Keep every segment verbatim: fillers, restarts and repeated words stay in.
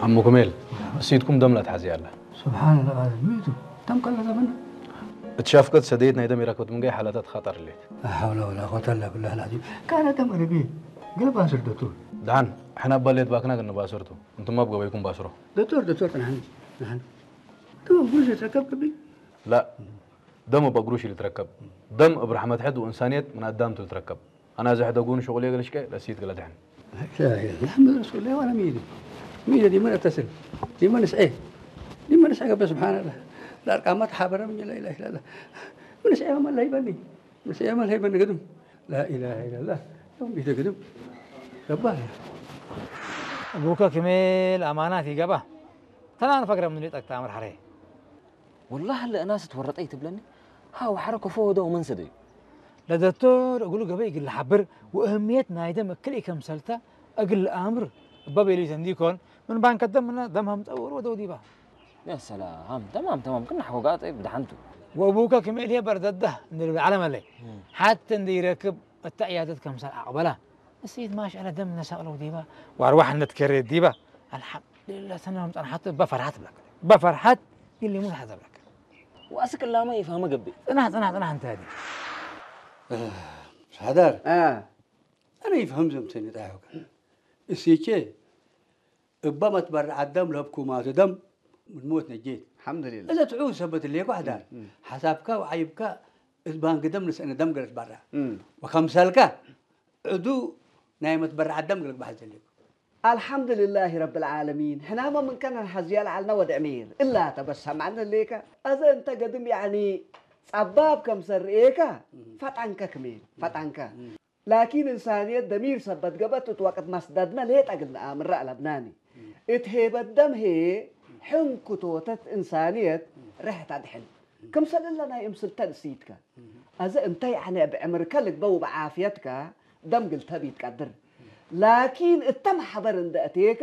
አሙ ክሜል፣ እሲትኩም ደም ለትሐዜ አለ። ሱብሓነላህ፣ አዝሚቱ ደም ቀለ ዘመን። እት ሻፍቀት ሰደየት ናይ ደም ኢረክበት ምን ገይ ሓለታት ኸጠር ሌት። ላ ሐውለ ወላ ቁወተ ኢላ ቢላህ አልዓዚም። ካነ ደም አለቢ፣ ገለ ባስር ዶክቶር። ደሓን፣ ሕነ እበ ሌት ባክና ግን ባስርቱ። እንቱም እብ ገበይኩም ባስሮ። ዶክቶር፣ ዶክቶር፣ ጥናሕኒ፣ ጥናሕኒ። ቱ ጉሽ ተከብከቢ? ላ፣ ደም እብ አግሩሽ ልትረከብ። ደም እብ ረሕመት ሕድ ወእንሳንየት ምን አዳምቱ ልትረከብ። አና እዘ ሕደጉን ሸቁል የገልሽቀ ለእሲት ገለ ደሕን። ላ ኢላሀ ኢለላህ መሐመድ ረሱሉላህ ወአና ሚእቲ። ሚእቲ ዲመ ነተስል፣ ዲመ ንስዔ፣ ዲመ ንስዔ ገብእ። ሱብሓነላህ። ለአርቃማ ተሓበረ ምን ላ ኢላሀ ኢለላህ። ምን ንስዔ አመል ለሀይበኒ፣ ንስዔ አመል ለሀይበኒ ግድም። ላ ኢላሀ ኢለላህ። ዮም ቢተ ግድም። ገባህ። አቡከ ክሜል አማናት ይገባ። ተናን ፈግረ ምን ጠቅጣ አምር ሐሬ። ወላሂ፣ ለእናስ ትወረጠ ኢትብለኒ። ሀ ወሐረ ከፎ ወደ ወመን ሰደዩ። ለደክቶር እግሉ ገበይ እግል ለሐብር ወእህምየት ናይ ደም እክል ኢከምሰልተ እግል ለአምር እበ ቤሊተ እንዲኮን፣ ምን ባንከ ደም ምነ ደም ሀምጠ ወሩ ወደው ዲባ። ያ ሰላም፣ ተማም፣ ተማም፣ ክና ሐቆ ጋር ጠይብ ደሐንቱ። ወእቡከ ክም እልዬ በርደደህ እንዲ ልብል ዐለ መለይ። እም። ሐቴ እንዲ ኢረክብ እተ ዕያደት ከምሰል አቅበላ። እሲት ማሽአለ ደም ነሳቅለው ዲባ፣ ወአርዋሕ እንድትከሬ ዲባ። አልሐምዱሊላህ፣ ሰነ ለምጸንሐቱ እበ ፈርሐት ብለክ። እበ ፈርሐት ግን ሊሙት ሐዘ ብለክ። ወአስክ እላመ ኢፋመ ገብእ። ጽናሕ፣ ጽናሕ፣ ጽናሕ፣ እንተ ሀዲ። ሐዳር። አ። አነ ኢፍሀም ዘምተኒ ጣይሖከ። እሲቼ እበ መትበረዐት ደም ለህብኩማቱ ደም ምን ሞት ነጄት። አልሐምዱሊላህ። እዘ ትዑ ሰበት እሌኮ ሐዳር። እም፣ እም። ሐሳብከ ወዐይብከ እት ባንክ ደም ንስአነ ደም ገለት በራ። እም። ወከምሰልከ ዕዱ ናይ መትበረዐት ደም እግል ልግበእ ሐዜ እሌኮ። አልሐምዱሊላሂ ረብል ዓለሚን። ሕናመ ምን ከነ ነሐዝየ ለዐልነ ወድ ዕሚር እላተ በስ ሰምዐነ እሌከ። አዘ እንተ ገድም ያዕኒ ጸባብ ከምሰል ርኤከ እም። ፈጠንከ ክሜል፣ ፈጠንከ። እም። ላኪን እንሳንየት ደሚር ሰበት ገብአት እት ወቅት መስደድነ ሌጠ እግል ነአምረ አለብናኒ። እት ሄበት ደም ህዬ ሕንኩቶተት እንሳንየት ርሕት አድሕን። ክምሰል እለ ናይ እምስልተን እሲትከ። አዘ እንተ ያዕነ እብ ዕምርከ ልግበእ ወበዓፍየትከ ደም እግል ተቢ ትቀድር። ላኪን እተ መሕበር እንደ አቴከ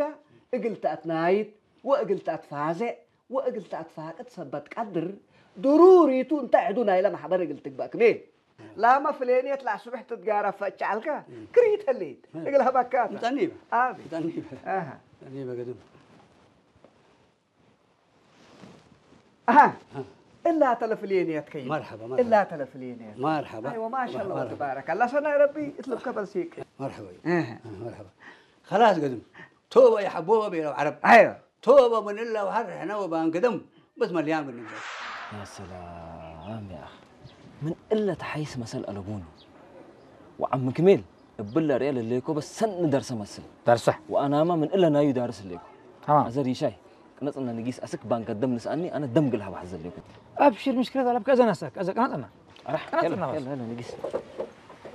እግል ተአትናይት ወእግል ተአትፋዜዕ ወእግል ተአትፋቅድ ሰበት ቀድር፣ ድሩሪቱ እንተ ዕዱ ናይለ መሕበር እግል ትግበእ ክሜል። ላመ ፍሌንየት ለአስብሕ ትትጋረፍ ፈጭዐልከ፣ ክሪት ህሌት፣ እግል ሀበካተ። ምጠኒበ። አቢ። ምጠኒበ። አሃ። ምጠኒበ ገድም። አሃ። አሃ። እላተ ለፍሌንየት ከይን። መርሐባ፣ መርሐባ። እላተ ለፍሌንየት። መርሐባ። አይወ፣ ማሻአላህ መርሐባ። ወተባረከላህ። ሰናይ ረቢ እትልብከ በልሲቅ። መርሐባ። አሃ። መርሐባ። ከላስ ገድም። ቶበ ይሐቦበ ቤለው ዐረብ። አይወ። ቶበ ምን እለ ወሐር ሕነ ወባንክ ደም በስ መልያን ብንግበር። ያ ሰላም ያ አኺ። ምን እለ ተሐይስ መሰል አለቡኒ። ወዐም ክሜል እብለ ርኤ ለሌኮ በስ ሰኒ ደርሰ መስል። ደርሰ። ወአናማ ምን እለ ናዩ ዳርስ ሌኮ። ተማም። አዘ ሪሻይ ቅነጽነ ንጊስ አስክ ባንክ ደም ንስአኒ አነ ደም ግል ሀብ ሐዘ ሌኮ። አብሽር ምሽክለት አለብከ አዘ ነሰክ አዘ ቅነጽነ። አራህ፣ ቅነጽነ የለ፣ በስ። የለ፣ የለ፣ ንጊስ።